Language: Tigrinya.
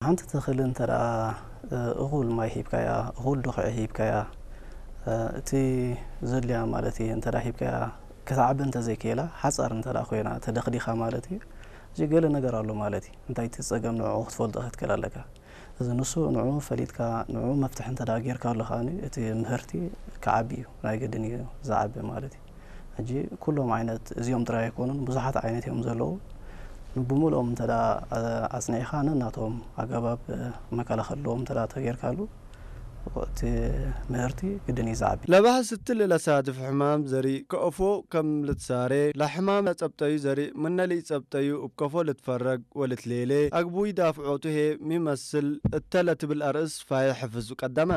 ሓንቲ ተኽሊ እንተ ደኣ እኹል ማይ ሂብካያ፣ እኹል ድኹዒ ሂብካያ፣ እቲ ዘድልያ ማለት እዩ እንተ ደኣ ሂብካያ፣ ክትዓቢ እንተ ዘይክኢላ፣ ሓጻር እንተ ደኣ ኮይና ተደኽዲኻ ማለት እዩ፣ እዚ ገለ ነገር ኣሎ ማለት እዩ። እንታይ እቲ ጸገም ንዕኡ ክትፈልጦ ክትክእል ኣለካ። እዚ ንሱ ንዕኡ ፈሊጥካ፣ ንዕኡ መፍትሒ እንተ ደኣ ጌርካሉ ከኣ እቲ ምህርቲ ክዓቢ እዩ፣ ናይ ግድን እዩ ዝዓቢ ማለት እዩ። ሕጂ ኩሎም ዓይነት እዚኦም ጥራይ ኣይኮኑን፣ ብዙሓት ዓይነት እዮም ዘለዉ። ንብምልኦም እንተ ደኣ ኣጽኒዕኻ ነናቶም ኣገባብ መከላኸልዎም እንተ ደኣ ተጌርካሉ፣ እቲ ምህርቲ ግድን እዩ ዝዓቢ። ለባህስቲ ለሳድፍ ሕማም ዘርኢ ከእፎ ከም ልትሳሬ ለሕማም ጸብጠዩ ዘርኢ ምነልኢ ጸብጠዩ እብ ከፎ ልትፈረግ ወልትሌሌ ኣግቡይ ዳፍዖቱ ሄ ሚመስል እተለ ትብል ኣርእስ ፋየ ሕፍዙ ቀደመ።